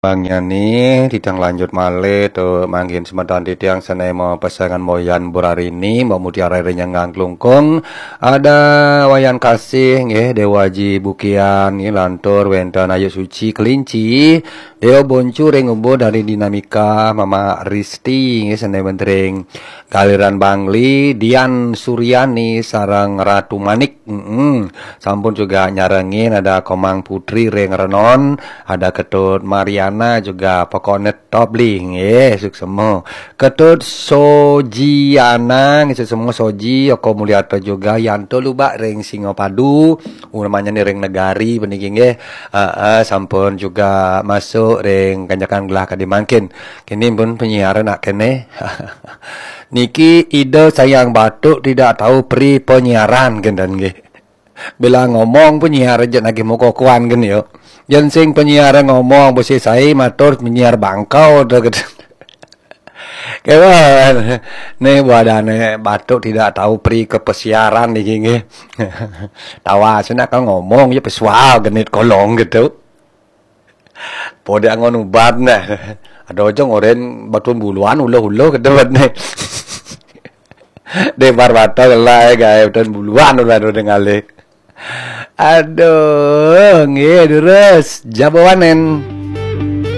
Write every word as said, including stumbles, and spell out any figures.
Bang Yani, titiang lanjut malih tu mangkin semeton titiang sane mapasangan Boyan Burarini, Mbok Mutiara Renyang Klungkung, ada Wayan Kasih nggih, Dewa Aji Bukian nggih, lantur wenten Ayu Suci Kelinci, Deo Boncu ring Ubud dari Dinamika, Mama Risti nggih, sane wenten ring Galiran Bangli, Dian Suryani sareng Ratu Manik. Mm-mm. Sampun juga nyarengin ada Komang Putri ring Renon, ada Ketut Mariana juga pokokne top lih nggih, suksema. Ketut Sojiana nggih, suksema Soji, Oko Mulyata juga, Yanto Lubak ring Singapadu, namanya ni ring Negari puniki nggih. Heeh, sampun juga masuk ring kanjekan gelah kadi mangkin. Kini pun penyiar nak kene. Niki Ida Sayang Batuk tidak tahu pri penyiaran kenten nggih. Bila ngomong penyiar aja nagih muka kuan kan yo. Yen sing penyiar ngomong besi sai matur penyiar bangkau tu kenten. Kewan. Ni badane Batuk tidak tahu pri kepesiaran niki nggih. Tawa sina kan ngomong ya pesual genit kolong gitu. Pode angon ubat nah. Ada aja ngoren batuan buluan uluh-uluh kedewet nih. Debar batal lah ya gawe batuan buluan udah udah ngalih. Aduh, nggih terus jabawanen.